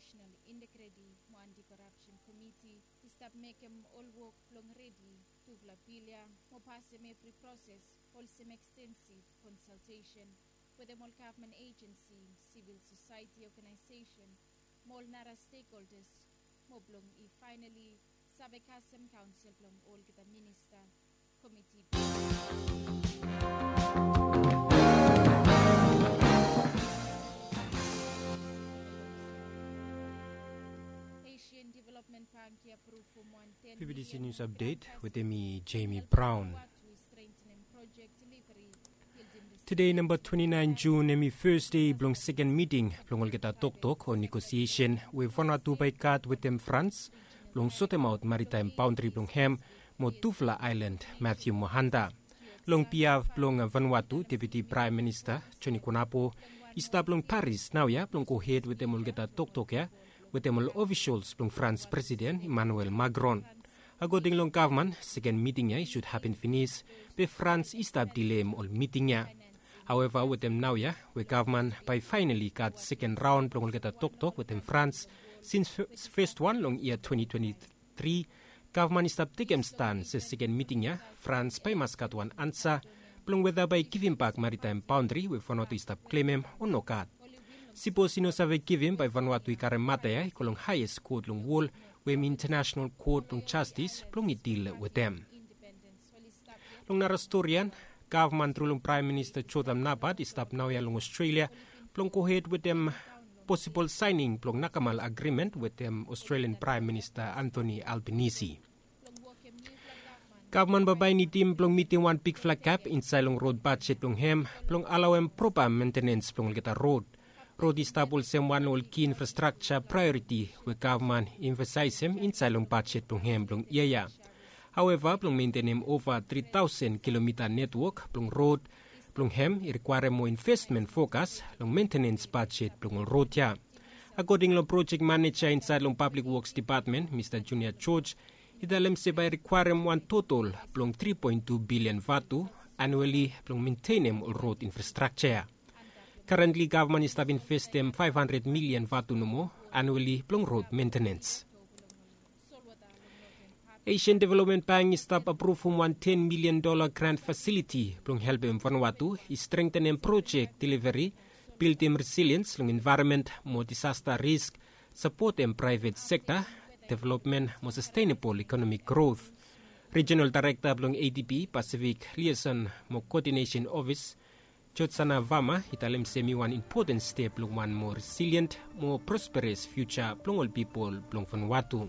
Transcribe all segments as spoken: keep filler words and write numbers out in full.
National Integrity mo Anti-Corruption Committee i stap mekem ol wok blong redi tufala bil ya mo pasem evri proses olsem extensive consultation wetem ol gavman agency, civil society organization mo ol nara stakeholders mo blong i finally save kasem kaonsel blong olgeta minista. Komiti Asian Development Bank i approve fom wan ten B B C News update wetem mi Jamie Brown. Tede namba twenti naen Jun hemi fes dei blong seken miting blong olgeta toktok o negosiesen we Vanuatu bae i gat wetem Frans blong sotemaot maritaem baondri blong hem mo tufala aelan Mathew mo Hunter. Long bihaf blong Vanuatu, Deputi Praem Minista Joni Kunapo i stap long Paris naoia blong gohed wetem olgeta toktok ya wetem ol ofisals blong Frans Presiden Emmanuel Macron. Akoding long gavman, seken miting ya i sud hapen finis be Frans i stap dileim ol miting ya. Haoeva wetem naoia we gavman bae i faenali gat seken raon blong olgeta toktok wetem Frans sins fes wan long yia twenti twenti tri, gavman i stap tekem stan se seken miting ya Frans bae i mas gat wan ansa blong weta bae i givimbak maritaem baondri we Vanuatu i stap klemem o nogat. Sipos i no save givim bae Vanuatu i karem mata ya i go long haeas kot long wol we hem Intanasenal Kot blong Jastis blong i dil wetem. Long nara stori ya, gavman tru long Praem Minista Jotham Napat i stap naoia long Australia blong gohed wetem posibol saening blong nakamal agrimen wetem Australian Praem Minista Anthony Albanese. Gavman bambae i nidim blong mitim wan bigfala gap insaed long rod bajet blong hem blong alaoem propa mentenens blong olgeta rod. Rod i stap olsem wan long ol ki infrastrakja praeoriti we gavman i emfasaesem insaed long bajet blong hem blong yia ya. Haoeva blong mentenem ova tri taosen kilomita netwok blong rod blong hem i rikwaerem moa investmen fokas long mentenens bajet blong ol rod ya. Akoding long projek maneja insaed long Pablik Woks Depatmen, Mista Junior George, i talem se bae i rikwaerem wan totol blong tri poen tu bilian vatu anuali blong mentenem ol rod infrastrakja ya. Karentli gavman i stap investem faef handred milian vatu nomo anuali blong rod mentenens. Asian Development Bank i stap apruvum wan ten milian dola grant fasiliti blong helpem Vanuatu i strengtenem projek deliveri, bildim resiliens long envaeronmen mo disasta risk, sapotem praevet sekta developmen mo sastenabol ekonomik grot. Rijinal Daerekta blong ADB, Pasifik Liason mo Koodinesen Ofis, Jotsana Vama i talem se hemi wan impoten step long wan moa resilien mo prosperes fiuja blong ol pipol blong Vanuatu.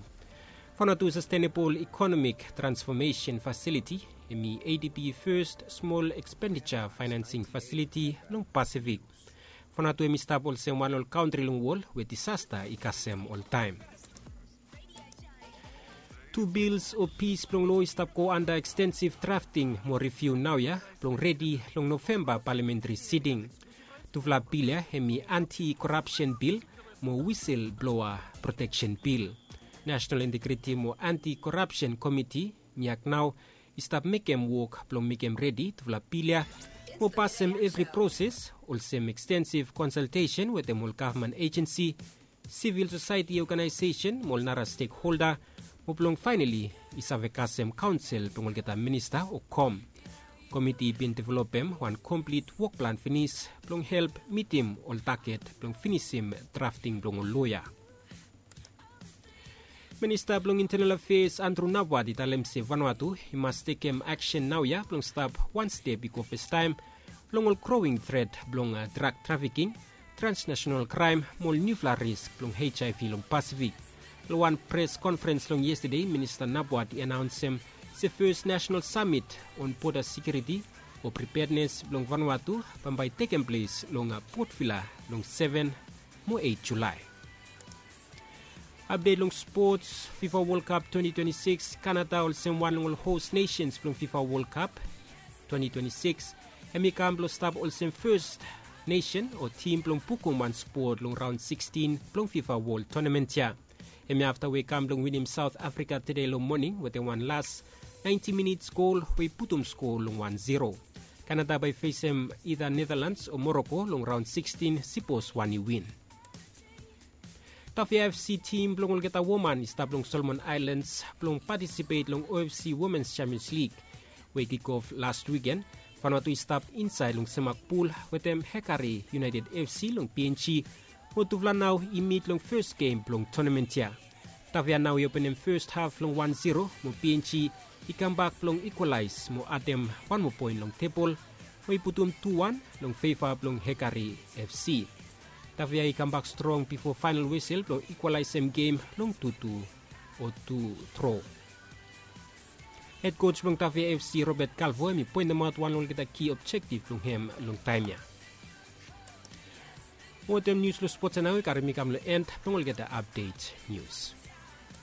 Vanuatu Sastenabol Ekonomik Transfomesen Fasiliti hemi ADB fes smol ekspendija faenansing fasiliti long Pasifik. Vanuatu hemi stap olsem wan long ol kantri long wol we disasta i kasem oltaem. Tu bils o pis blong lo i stap go anda ekstensiv drafting mo riviu naoia blong redi long Novemba palamentri siting. Tufala bil ya hemi anti korapsen bil mo wisel bloa proteksen bil. Nasenal Integriti mo Anti Korapsen Komiti, NIAC nao i stap mekem wok blong mekem redi tufala bil ya mo pasem evri proses olsem ekstensiv konsaltesen wetem ol gavman ejensi, sivil sosaeti oganaesesen mo ol nara stekholda mo blong faenali i save kasem kaonsel blong olgeta minista o kom. Komiti i bin developem wan komplit wokplan finis blong help mitim ol taget blong finisim drafting blong ol loea. Minista blong Intenal Afeas Andrew Nabwat i talem se Vanuatu i mas tekem aksen naoia blong stap wan step i go fastaem long ol growing tret blong drak trafiking, transnasenal kraem mo ol niufala risk blong HIV long Pasifik. Long wan pres konferens long yestade, Minista Nabwat i anaonsem se fes nasenal samit on boda sekiuriti o pripednes blong Vanuatu bambae i tekem ples long Port Vila long seven mo eit Julae. Apdet long spots, FIFA World Cup twenty twenty-six, Kanada olsem wan long ol hos nesens blong FIFA World Cup twenty twenty-six, hem i kam blong stap olsem fes nesen o tim blong bukum wan spot long raon sikstin blong FIFA World Tournament ya. Hem i afta we i kam blong winim Saot Afrika tede long moning wetem wan las naenti minits gol we i putum skoa long wan zero. Kanada bae i fesem ida Netherlands o Moroko long raon sikstin sipos wan i win. Tafia FC tim blong olgeta woman i stap long Solomon Islands blong patisipet long OFC Women's Champions League we i kikof last wiken. Vanuatu i stap insaed long semak pul wetem Hekari United FC long PNG, mo tufala nao i mit long fes gem blong tonamen ya. Tafia nao i openem fes haf long wan zero mo PNG i kambak blong ikwalaes mo adem wan moa poen long tebol, mo i putum tu wan long feva blong Hekari FC. Tafia i kambak strong bifo faenal wesel blong ikwalaesem gem long tutu o tu tro. Hed koj blong Tafia FC, Robert Calvo, hem i poentemaot wan long olgeta ki objektif blong hem long taem ya. Wetem nius long spots ya nao i karim mi kam long en blong olgeta apdet nius.